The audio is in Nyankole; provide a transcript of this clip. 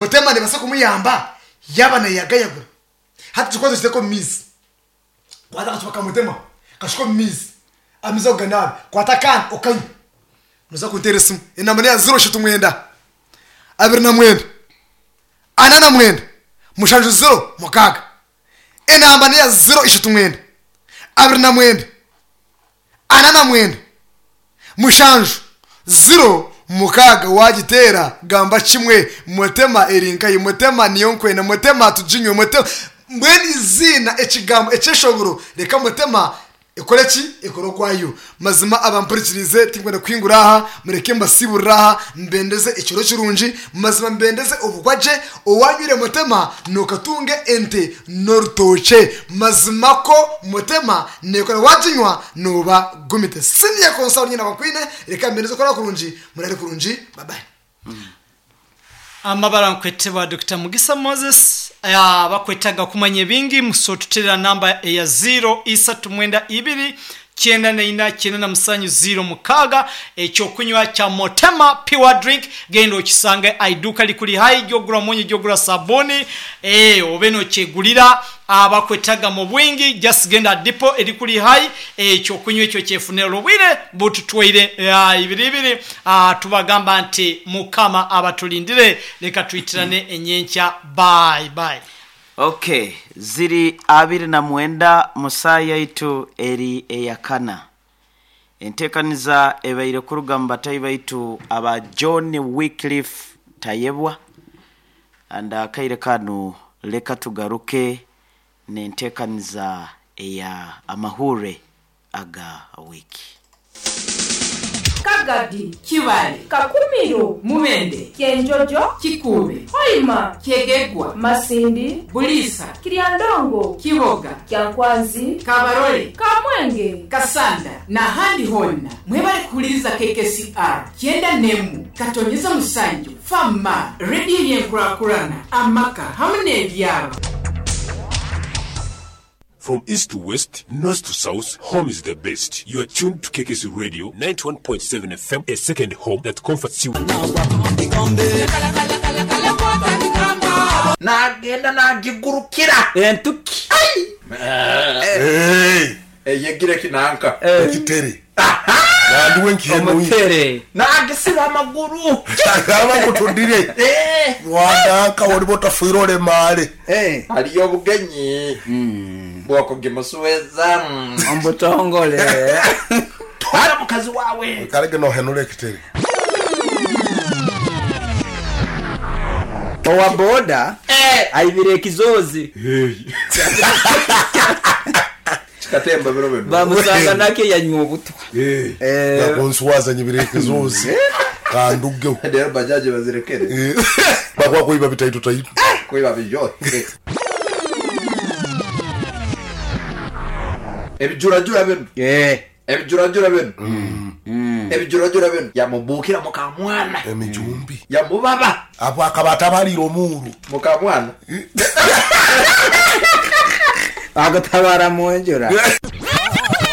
Mutema nebaasa kumuyamba yaaba nayagayagura. Hati kikwato okiteeke omu maizi, kwata akacupa ka mutema okashuke omu maizi, amaizi ago ganaabe, kwata akandi okanywe. Noza kunteera esimu, enamba neya ziro ishatu mwenda, 29, 49, 7 0 6. Enamba neya 039, 29, 49, 7 0 6 Waagiteera gamba kimwe, Mutema eri nkahi? Mutema niyo nkwenda, Mutema tuginywe, Mutema. Mbwenu eiziina, ekigambo, ekyeshongoro, reka Mutema Ekore ki? Ekore okwayo. Mazima abampurikiriize tinkwenda kuhingura aha, mureke mbasiiburire aha, mbendeze ekiro kirungi, mazima mbendeze obugwa gye, owanywire Mutema nokatunga ente n'orutookye. Mazima ko Mutema nekora waginywa noba gumite. Senior Console nyine abakwine, reka mbendeze okurara kurungi, murare kurungi, bye bye. Amabara nkwetebwa Dokita Mugisa Moses. Abakwetaga kumanya ebingi musotuterera namba eya ziiro isatu mwenda ibiri 94 97 06. Ekyokunywa kya Motema Pure Drink genda okisange aiduka likuli haihi gyogura munyu gyogura sabuni obe nokyegulira. Abakwetaga mu bwingi just genda aha dipo erikuri haihi ekyokunywa ekyo okyefunire. Obwire bututwaire ibiri ibiri tubagamba nti Mukama abatulindire leka twitirane enyenkya bye bye. Ok, ziri 29 mu saa yaitu eri eyakana. Enteekaniza ebaire kuruga mu batahi baitu aba John Wycliffe Tayebwa and akaire kanu leka tugaruke n'enteekaniza eya amahurre aga wiiki. Kagadi, Kibaale, Kakumiro, Mubende, Kyenjojo, Kikuube, Hoima, Kyegegwa, Masindi, Buliisa, Kiryandongo, Kiboga, Kyankwanzi, Kabarole, Kamwenge, Kasanda n'ahandi hoona. Mwebale kuhuliriza KKCR kyenda n'emu katonyeza musanju Fama, rediyo y'enkurakurana, amaka hamu n'ebyaro. From east to west, north to south, home is the best. You are tuned to KKC Radio 91.7 FM, a second home that comforts you. Naagenda naagigurukira. Entuki. Eyegire kinanka. Ekitere. Nandiwe nkihenuye. Omutere. Naagisiba amaguru. Agamba ngu tudire. Wananka oliba otafiire olemaale. Hariyo obugenyi bw'okugimusueza. Omu butongole. Twara mukazi waawe. Oikarege nohenura ekitere. Owa boda aibire ekizoozi. Kikatemba biro binu. Bamusanga nakyo yanywa obutwa. Nakunswaza nyibire ekizoozi kandugeho. Reero bajaji bazirekere. Bakuba kwiba bitaito taito. Kwiba bijote. Ebijurajura binu. Ebijurajura binu. Ebijurajura binu. Yamubuukira mukamwana. Emijumbi. Yamubaba. Apo akaba atabariire omuuru. Mukamwana. Akutabara munjura.